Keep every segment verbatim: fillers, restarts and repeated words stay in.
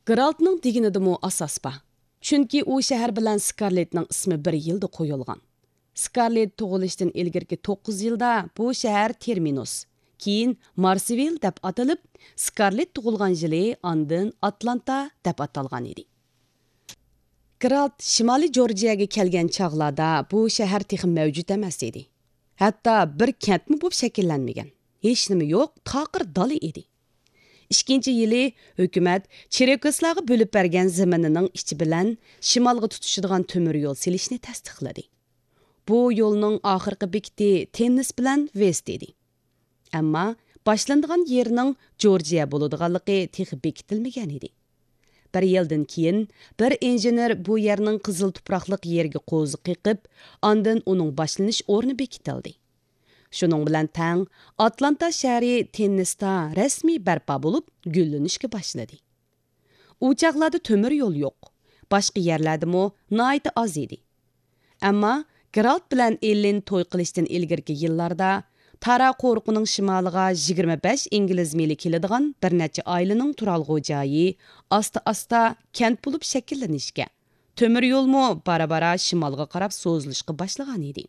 گېرالتنىڭ دېگىنىدىمۇ ئاساس بار. چۈنكى ئۇ شەھەر بىلەن سكارلېتنىڭ ئىسمى بىر يىلدا قويۇلغان. سكارلېت تۇغۇلۇشتىن ئىلگىرىكى توققۇز يىلدا بۇ شەھەر تېرمىنۇس، كېيىن مارسۋىل دەپ ئاتىلىپ، سكارلېت تۇغۇلغان يىلى ئاندىن ئاتلانتا دەپ ئاتالغان ئىدى. گېرالت شىمالىي جورجىيەگە كەلگەن چاغلاردا بۇ شەھەر تېخى مەۋجۇت ئەمەس ئىدى. ھەتتا بىر كەنتمۇ بولۇپ شەكىللەنمىگەن. ھېچنېمە يوق، تاقىر دالا ئىدى. ئىككىنچى يىلى ھۆكۈمەت چېركېسلارغا بۆلۈپ بەرگەن زېمىنىنىڭ ئىچى بىلەن شىمالغا تۇتىشىدىغان تۆمۈر يول سېلىشنى تەستىقلىدى. بۇ يولنىڭ ئاخىرقى بېكىتى تېننېس بىلەن ۋېست ئىدى. ئەمما باشلىنىدىغان يېرىنىڭ جورجىيە بولىدىغانلىقى تېخى بېكىتىلمىگەن ئىدى. بىر يىلدىن كېيىن بىر ئىنژېنېر بۇ يەرنىڭ قىزىل تۇپراقلىق يېرىگە قوزا قېقىپ، ئاندىن ئۇنىڭ باشلىنىش ئورنى بېكىتىلدى. شۇنىڭ بىلەن تەڭ، ئاتلانتا شەھىرى تېننېستا رەسمىي بەرپا بولۇپ، گۈللىنىشكە باشلىدى. ئۇ چاغلاردا تۆمۈر يول يوق، باشقا يەرلەردىمۇ ناھايىتى ئاز ئىدى. ئەمما گېرالت بىلەن ئېللېن توي قىلىشتىن ئىلگىرىكى يىللاردا تارا قورۇقىنىڭ شىمالىغا يىگىرمە بەش ئىنگلىز مىلى كېلىدىغان بىر نەچچە ئائىلىنىڭ تۇرالغۇ جايى ئاستا-ئاستا كەنت بولۇپ شەكىللىنىشكە، تۆمۈر يولمۇ بارا-بارا شىمالغا قاراپ سوزۇلۇشقا باشلىغان ئىدى.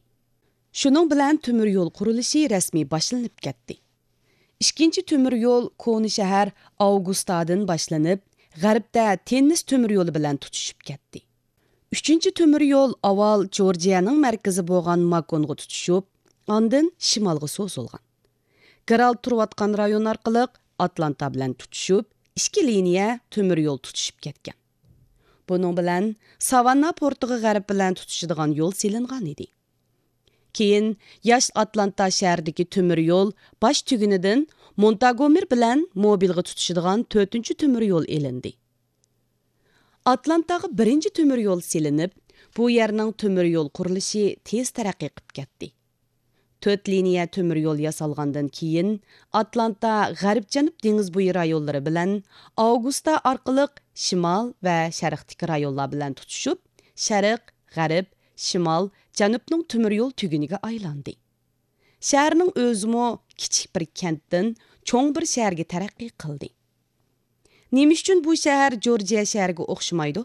شۇنىڭ بىلەن تۆمۈر يول قۇرۇلۇشى رەسمىي باشلىنىپ كەتتى. ئىككىنچى تۆمۈر يول كونا شەھەر ئاۋگۇستادىن باشلىنىپ، غەربتە تېننېس تۆمۈر يولى بىلەن تۇتىشىپ كەتتى. ئۈچىنچى تۆمۈر يول ئاۋۋال جورجىيەنىڭ مەركىزى بولغان ماكونغا تۇتىشىپ، ئاندىن شىمالغا سوزۇلغان. گېرالت تۇرۇۋاتقان رايون ئارقىلىق ئاتلانتا بىلەن تۇتىشىپ، ئىككى لىنىيە تۆمۈر يول تۇتىشىپ كەتكەن. بۇنىڭ بىلەن ساۋاننا پورتىغا غەرب بىلەن تۇتىشىدىغان يول سېلىنغان ئىدى. كېيىن ياش ئاتلانتا شەھىرىدىكى تۆمۈر يول باش تۈگۈنىدىن مونتاگومېر بىلەن موبىلغا تۇتىشىدىغان تۆتىنچى تۆمۈر يول ئېلىندى. ئاتلانتاغا بىرىنچى تۆمۈر يول سېلىنىپ، بۇ يەرنىڭ تۆمۈر يول قۇرۇلۇشى تېز تەرەققىي قىپ كەتتى. تۆت لىنىيە تۆمۈر يول ياسالغاندىن كېيىن، ئاتلانتا غەرب-جەنۇب دېڭىز بويى رايونلىرى بىلەن ئاۋگۇستا ئارقىلىق شىمال ۋە شەرقتىكى رايونلار بىلەن تۇتىشىپ، شەرق، غەرب، شىمال، جەنۇبنىڭ تۆمۈر يول تۈگۈنىگە ئايلاندى. شەھەرنىڭ ئۆزىمۇ كىچىك بىر كەنتتىن چوڭ بىر شەھەرگە تەرەققىي قىلدى. نېمە ئۈچۈن بۇ شەھەر جورجىيە شەھىرىگە ئوخشىمايدۇ؟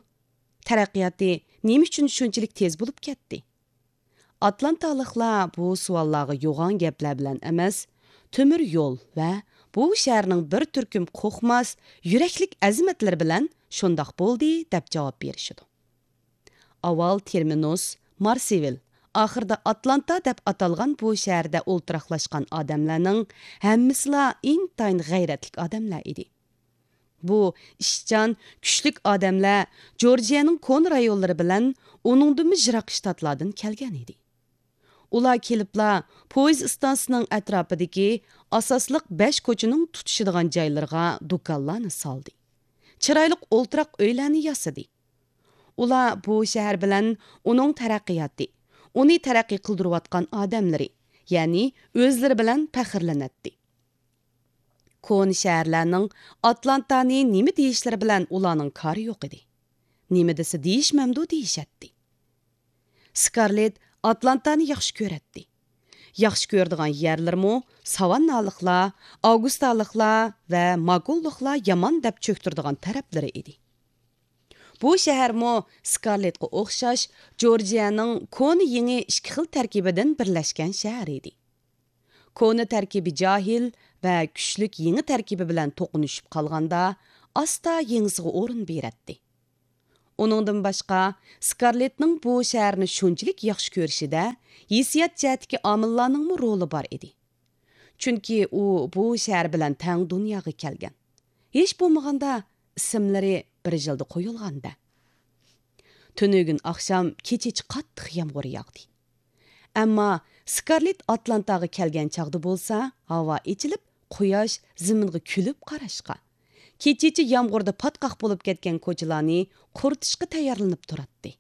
تەرەققىياتى نېمە ئۈچۈن شۇنچىلىك تېز بولۇپ كەتتى؟ ئاتلانتالىقلار بۇ سوئاللارغا يوغان گەپلەر بىلەن ئەمەس، تۆمۈر يول ۋە بۇ شەھەرنىڭ بىر تۈركۈم قورقماس، يۈرەكلىك ئەزىمەتلىرى بىلەن شۇنداق بولدى دەپ جاۋاب بېرىشىدۇ. ئاۋۋال تېرمىنۇس، مارسېۋىل، ئاخىرىدا ئاتلانتا دەپ ئاتالغان بۇ شەھەردە ئولتۇراقلاشقان ئادەملەرنىڭ ھەممىسىلا ئىنتايىن غەيرەتلىك ئادەملەر ئىدى. بۇ ئىشچان، كۈچلۈك ئادەملەر جورجىيەنىڭ كونا رايونلىرى بىلەن ئۇنىڭدىنمۇ يىراق شتاتلاردىن كەلگەن ئىدى. ئۇلار كېلىپلا پويىز ئىستانسىسىنىڭ ئەتراپىدىكى ئاساسلىق بەش كوچىنىڭ تۇتىشىدىغان جايلىرىغا دۇكانلارنى سالدى. چىرايلىق ئولتۇراق ئۆيلەرنى ياسىدى. ئۇلار بۇ شەھەر بىلەن ئۇنىڭ تەرەققىياتى، ئۇنى تەرەققىي قىلدۇرۇۋاتقان ئادەملىرى، يەنى ئۆزلىرى بىلەن پەخىرلىنەتتى. كونا شەھەرلەرنىڭ ئاتلانتانى نېمە دېيىشلىرى بىلەن ئۇلارنىڭ كارى يوق ئىدى. نېمە دېسە دېيىشمەمدۇ دېيىشەتتى. سكارلېت ئاتلانتانى ياخشى كۆرەتتى. ياخشى كۆرىدىغان يەرلىرىمۇ ساۋاننالىقلار، ئاۋگۇستالىقلار ۋە ماكونلۇقلار يامان دەپ چۆكتۈرىدىغان تەرەپلىرى ئىدى. بۇ شەھەرمۇ سكارلېتقا ئوخشاش جورجىيەنىڭ كونا يېڭى ئىككى خىل تەركىبىدىن بىرلەشكەن شەھەر ئىدى. كونا تەركىبى جاھىل ۋە كۈچلۈك يېڭى تەركىبى بىلەن توقۇنۇشۇپ قالغاندا، ئاستا يېڭىسىغا ئورۇن بېرەتتى. ئۇنىڭدىن باشقا، سكارلېتنىڭ بۇ شەھەرنى شۇنچىلىك ياخشى كۆرۈشىدە ھېسسىيات جەھەتتىكى ئامىللارنىڭمۇ رولى بار ئىدى. چۈنكى ئۇ بۇ شەھەر بىلەن تەڭ دۇنياغا كەلگەن. ھېچ بولمىغاندا ئىسىملىرى بىر يىلدا قويۇلغاندا. تۈنۈگۈن ئاخشام كېچىچە قاتتىق يامغۇر ياغدى. ئەمما سكارلېت ئاتلانتاغا كەلگەن چاغدا بولسا، ھاۋا ئېچىلىپ، قۇياش زېمىنغا كۈلۈپ قاراشقا، كېچىچە يامغۇردا پاتقاق بولۇپ كەتكەن كوچىلارنى قۇرۇتۇشقا تەييارلىنىپ تۇراتتى.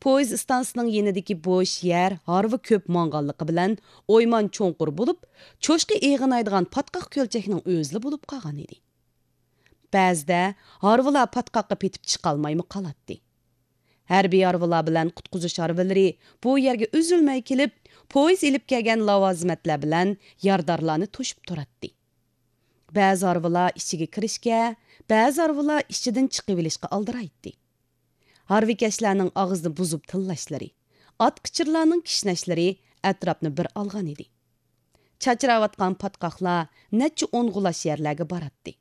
پويىز ئىستانسىسىنىڭ يېنىدىكى بوش يەر ھارۋا كۆپ ماڭغانلىقى بىلەن ئويمان چوڭقۇر بولۇپ، چوشقا ئېغىنايدىغان پاتقاق كۆلچەكنىڭ ئۆزىلا بولۇپ قالغان ئىدى. بەزىدە ھارۋىلار پاتقاققا پېتىپ چىقالمايمۇ قالاتتى. ھەربىي ھارۋىلار بىلەن قۇتقۇزۇش ھارۋىلىرى بۇ يەرگە ئۈزۈلمەي كېلىپ، پويىز ئېلىپ كەلگەن لاۋازىمەتلەر بىلەن يارىدارلارنى توشۇپ تۇراتتى. بەزى ھارۋىلار ئىچىگە كىرىشكە، بەزى ھارۋىلار ئىچىدىن چىقىۋېلىشقا ئالدىرايتتى. ھارۋىكەشلەرنىڭ ئاغزىنى بۇزۇپ تىللاشلىرى، ئاتقىچىرلارنىڭ كىشنەشلىرى ئەتراپنى بىر ئالغان ئىدى. چاچراۋاتقان پاتقاقلار نەچچە ئون غۇلاچ يەرلەرگە باراتتى.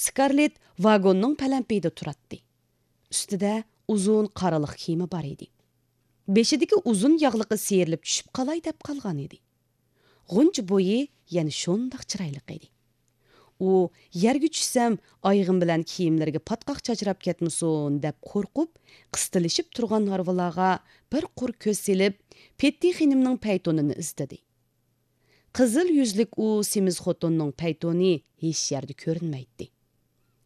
سكارلېت ۋاگوننىڭ پەلەمپىيىدە تۇراتتى. ئۈستىدە ئۇزۇن قارىلىق كىيىمى بار ئىدى. بېشىدىكى ئۇزۇن ياغلىقى سىيرىلىپ چۈشۈپ قالاي دەپ قالغان ئىدى. غۇنچە بويى يەنە شۇنداق چىرايلىق ئىدى. ئۇ يەرگە چۈشسەم، ئايىغىم بىلەن كىيىملىرىگە پاتقاق چاچراپ كەتمىسۇن دەپ قورقۇپ، قىستىلىشىپ تۇرغان ھارۋىلارغا بىر قۇر كۆز سېلىپ، پېتتى خېنىمنىڭ پەيتۇنىنى ئىزدىدى. قىزىل يۈزلۈك ئۇ سېمىز خوتۇننىڭ پەيتۇنى ھېچ يەردە كۆرۈنمەيتتى.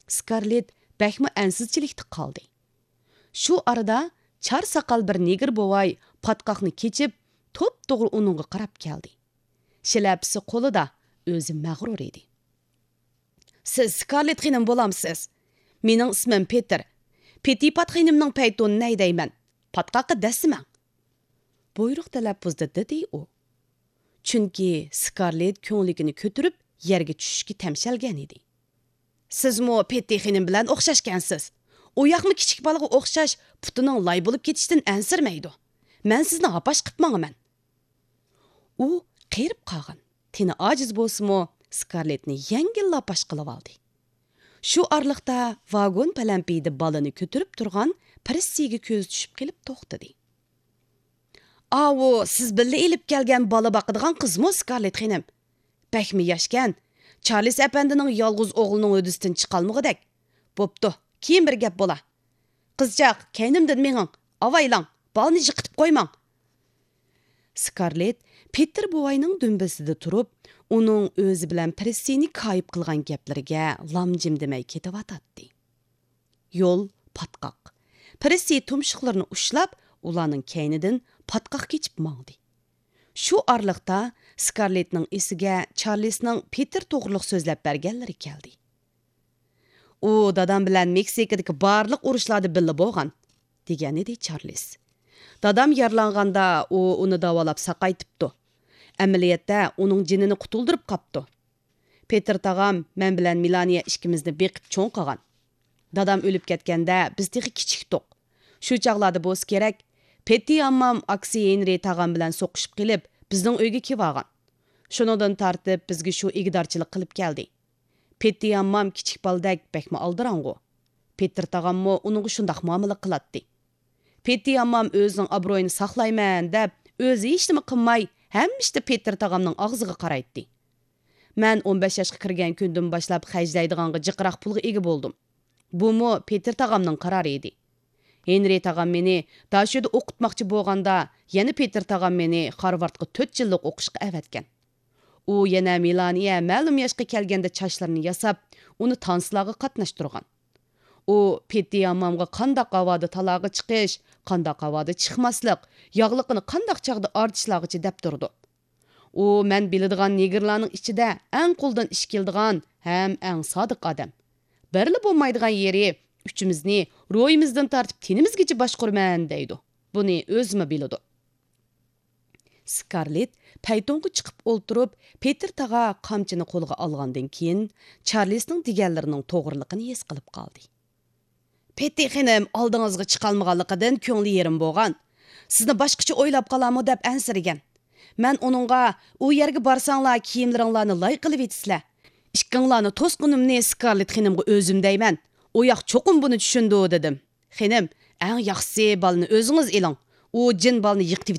سكارلېت بەكمۇ ئەنسىزچىلىكتە قالدى. شۇ ئارىدا چار ساقال بىر نېگىر بوۋاي پاتقاقنى كېچىپ، توپتوغرا ئۇنىڭغا قاراپ كەلدى. شىلەپىسى قولىدا، ئۆزى مەغرۇر ئىدى. سىز سكارلېت خېنىم بولامسىز؟ مېنىڭ ئىسمىم پېتىر. پېتىپات خېنىمنىڭ پەيتۇنىنى ھەيدەيمەن. پاتقاققا دەسسىمەڭ. بۇيرۇق تەلەپپۇزدا دېدى ئۇ. چۈنكى سكارلېت كۆڭلىكىنى كۆتۈرۈپ، يەرگە چۈشۈشكە تەمشەلگەن ئىدى. سىزمۇ پېتتى خېنىم بىلەن ئوخشاشكەنسىز. ئۇ ياقمۇ كىچىك بالىغا ئوخشاش پۇتىنىڭ لاي بولۇپ كېتىشتىن ئەنسىرىمەيدۇ. مەن سىزنى ھاپاش قىپ ماڭىمەن. ئۇ قېرىپ قالغان، تېنى ئاجىز بولسىمۇ، سكارلېتنى يەڭگىل ھاپاش قىلىۋالدى. شۇ ئارىلىقتا ۋاگون پەلەمپىيىدە بالىنى كۆتۈرۈپ تۇرغان پىرىسسىگە كۆزى چۈشۈپ قېلىپ توختىدى. ئاۋۇ سىز بىللە ئېلىپ كەلگەن بالا باقىدىغان قىزمۇ، سكارلېت خېنىم؟ بەكمۇ ياشكەن. چارلىز ئەپەندىنىڭ يالغۇز ئوغلىنىڭ ھۆددىسىدىن چىقالمىغۇدەك. بوپتۇ، كېيىن بىر گەپ بولا. قىزچاق، كەينىمدىن مېڭىڭ. ئاۋايلاڭ، بالىنى يىقىتىپ قويماڭ. سكارلېت پېتىر بوۋاينىڭ دۈمبىسىدە تۇرۇپ، ئۇنىڭ ئۆزى بىلەن پىرىسسىنى كايىپ قىلغان گەپلىرىگە لام-جىم دېمەي كېتىۋاتاتتى. يول پاتقاق. پىرىسسى تۇمشۇقلىرىنى ئۇشلاپ، ئۇلارنىڭ كەينىدىن پاتقاق كېچىپ ماڭدى. شۇ ئارىلىقتا سكارلېتنىڭ ئېسىگە چارلىسنىڭ پېتىر توغرۇلۇق سۆزلەپ بەرگەنلىرى كەلدى. ئۇ دادام بىلەن مېكسىكىدىكى بارلىق ئۇرۇشلاردا بىللە بولغان، دېگەنىدى چارلىس. دادام يارىلانغاندا ئۇ ئۇنى داۋالاپ ساقايتىپتۇ. ئەمەلىيەتتە ئۇنىڭ جېنىنى قۇتۇلدۇرۇپ قاپتۇ. پېتىر تاغام مەن بىلەن مېلانىيە ئىككىمىزنى بېقىپ چوڭ قىلغان. دادام ئۆلۈپ كەتكەندە بىز تېخى كىچىكتۇق. شۇ چاغلاردا بولسا كېرەك، پېتتى ئاممام ئاكىسى ھېنرى تاغام بىلەن سوقۇشۇپ قېلىپ، بىزنىڭ ئۆيگە كېلىۋالغان. شۇنىڭدىن تارتىپ بىزگە شۇ ئىگىدارچىلىق قىلىپ كەلدى. پېتتى ئاممام كىچىك بالىدەك بەكمۇ ئالدىراڭغۇ. پېتىر تاغاممۇ ئۇنىڭغا شۇنداق مۇئامىلە قىلاتتى. پېتتى ئاممام ئۆزىنىڭ ئابرۇيىنى ساقلايمەن دەپ، ئۆزى ھېچنېمە قىلماي، ھەممە ئىشتا پېتىر تاغامنىڭ ئاغزىغا قارايتتى. مەن ئون بەش ياشقا كىرگەن كۈندىن باشلاپ خەجلەيدىغانغا جىقراق پۇلغا ئىگە بولدۇم. بۇمۇ پېتىر تاغامنىڭ قارارى ئىدى. ھېنرى تاغام مېنى داشۆدە ئوقۇتماقچى بولغاندا، يەنە پېتىر تاغام مېنى خارۋاردقا تۆت يىللىق ئوقۇشقا ئەۋەتكەن. ئۇ يەنە مېلانىيە مەلۇم ياشقا كەلگەندە چاچلىرىنى ياساپ، ئۇنى تانسىلارغا قاتناشتۇرغان. ئۇ پېتتى ئاممامغا قانداق ھاۋادا تالاغا چىقىش، قانداق ھاۋادا چىقماسلىق، ياغلىقىنى قانداق چاغدا ئارتىشلارغىچە دەپ تۇرىدۇ. ئۇ مەن بىلىدىغان نېگىرلارنىڭ ئىچىدە ئەڭ قولدىن ئىش كېلىدىغان ھەم ئەڭ سادىق ئادەم. بىرلا بولمايدىغان يېرى، ئۈچىمىزنى روھىمىزدىن تارتىپ تېنىمىزگىچە باشقۇرىمەن دەيدۇ. بۇنى ئۆزىمۇ بىلىدۇ. سكارلېت پەيتۇنغا چىقىپ ئولتۇرۇپ، پېتىر تاغا قامچىنى قولىغا ئالغاندىن كېيىن، چارلىسنىڭ دېگەنلىرىنىڭ توغرىلىقىنى ھېس قىلىپ قالدى. پېتى خېنىم ئالدىڭىزغا چىقالمىغانلىقىدىن كۆڭلى يېرىم بولغان. سىزنى باشقىچە ئويلاپ قالارمۇ دەپ ئەنسىرىگەن. مەن ئۇنىڭغا، ئۇ يەرگە بارساڭلار كىيىملىرىڭلارنى لاي قىلىۋېتىسىلەر. ئىككىڭلارنى توسقىنىمنى سكارلېت خېنىمغا ئۆزۈم دەيمەن. ئۇ ياق چوقۇم بۇنى چۈشىنىدۇ، دېدىم. خېنىم، ئەڭ ياخشىسى بالىنى ئۆزىڭىز ئېلىڭ. ئۇ جىن بالىنى يىقىتىۋېتىپ